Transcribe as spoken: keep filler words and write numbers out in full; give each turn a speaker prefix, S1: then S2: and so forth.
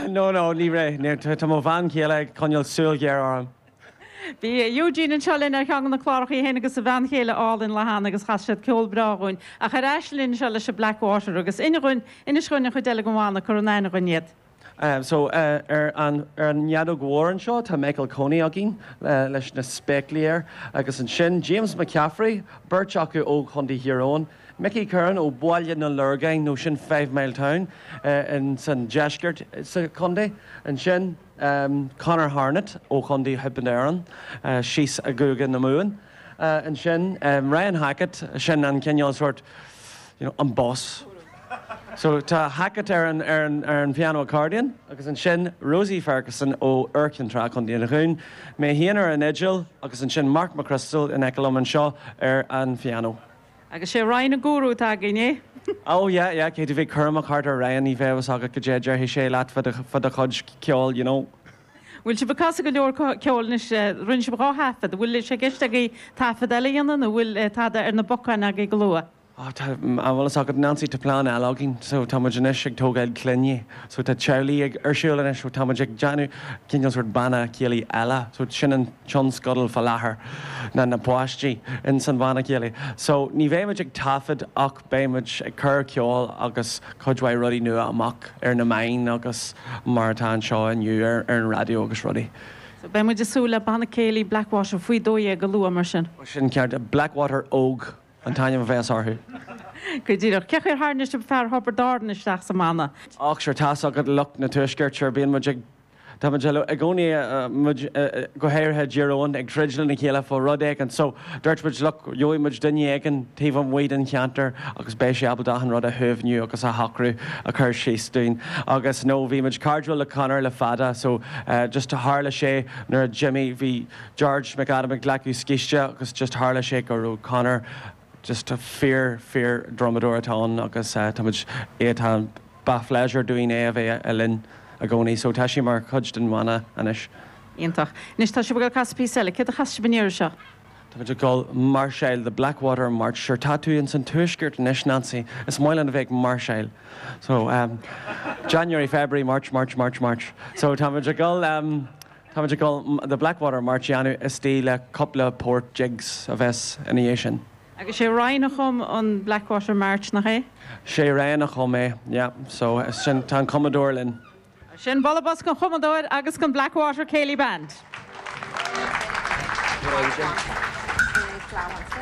S1: No no ní raibh tá mo bhean chéile ag coinneáil súil ghéar orm.
S2: Bhí Eugene anseo linn ar cheann de na cláracha féin agus a bhean chéile álainn Lahan agus chas siad ceol breá dúinn ach ar ais linn seo leis an Blackwater agus inis dúinn inis dúinn an chuid eile den bhanna cuir in aithne dúinn iad.
S1: Um, so uh, ar an ar an fheadóg mhór anseo tá Michael Coney againn uh, leis na spéaclaí air agus ansin James McCaffrey, beirt acu ó Chontae Thír Eoghain, Mickey Curran ó Bhaile na Lorgain nó sin Five Mile Town uh, in san deisceart sa chontae ansin um, Conor Harnett ó Chontae Thiobraid Árann uh, síos i gCúige na Mumhan. Uh, ansin um, Ryan Hackett sin an cineál sort you know, an boss. So tá Hackett ar an, ar an, ar an piano accordion agus ansin Rosie Ferguson ó Iúr Cinn Trá Chontae an Dúin, mé féin ar an fhidil agus ansin Mark McChrystal in aice liom anseo ar an piano.
S2: Agus sé Ryan an gúrú atá againn é?
S1: Oh yeah, yeah, cé bhí chumach thart ar Ryan ní bheith agat go dé deirfidh sé leat fá do chuid ceoil, you know.
S2: Bhfuil sibh ag casadh go leor ceoil anois rinne sibh dhá thaifead, bhfuil sé i gceist agaibh taifead eile a dhéanamh nó bhfuil tada ar na bacáin agaibh go luath.
S1: Oh, tá an bhfuil agat Nancy tá plean eile againn, so tá muid anois ag tógáil clainne, so tá teaghlaigh ag ar siúl anois, so tá muid ag déanamh cineál sort banna céilí eile, so sin an tionscadal faoi láthair na na páistí in san bhanna céilí. So ní bheidh muid ag taifead ach beidh muid ag cur ceol agus cuid mhaith rudaí nua amach ar na meáin agus mar atá anseo inniu ar, ar an raidió agus rudaí.
S2: So beidh muid ag súil le banna céilí Blackwater faoi dó dhéag go luath mar sin.
S1: Sin ceart Blackwater óg an t-ainm a bheas orthu.
S2: Go díreach cén chaoi ar tharraing sibh fear Thiobraid Árann isteach sa mbanna.
S1: Ach sure tá agat lucht na tuaiscirt sure bíonn muid ag Tá muid i gcónaí muid go háirithe Tír Eoghain ag troid lena chéile fá rud éigin so dúirt muid look gheobhaidh muid duine éigin taobh amuigh den cheantar agus beidh sé ábalta an rud a shuaimhniú agus a shocrú a chur síos dúinn. Agus nó bhí muid cairdiúil le Conor le fada so uh, just tharla sé nuair a Jimmy bhí George McAdam ag glacadh scíste agus just tharla sé go raibh Conor just a fíor fíor drumadóir atá ann agus uh, tá muid é tá ba phléisiúr dúinn é a bheith linn i gcónaí, so tá sé mar chuid den bhanna anois.
S2: Iontach. Anois tá sibh ag casadh píosa eile, céard a chas sibh an iarraidh seo?
S1: Tá muid ag dul máirseáil the Blackwater March sure tá tú in san tuaisceart anois Nancy is maith linn a bheith ag máirseáil. So um, January, February, March, March, March, March. So tá muid ag dul um, Tá muid ag dul the Blackwater March dhéanamh istigh le cúpla port jigs a bheas ina dhiaidh sin.
S2: Agus sé Ryan a chum an Blackwater March nach é?
S1: Sé Ryan a chum é, yeah, so sin tá an cumadóir linn.
S2: Sin bualadh bos don chumadóir agus don Blackwater Céilí Band.
S3: Flower.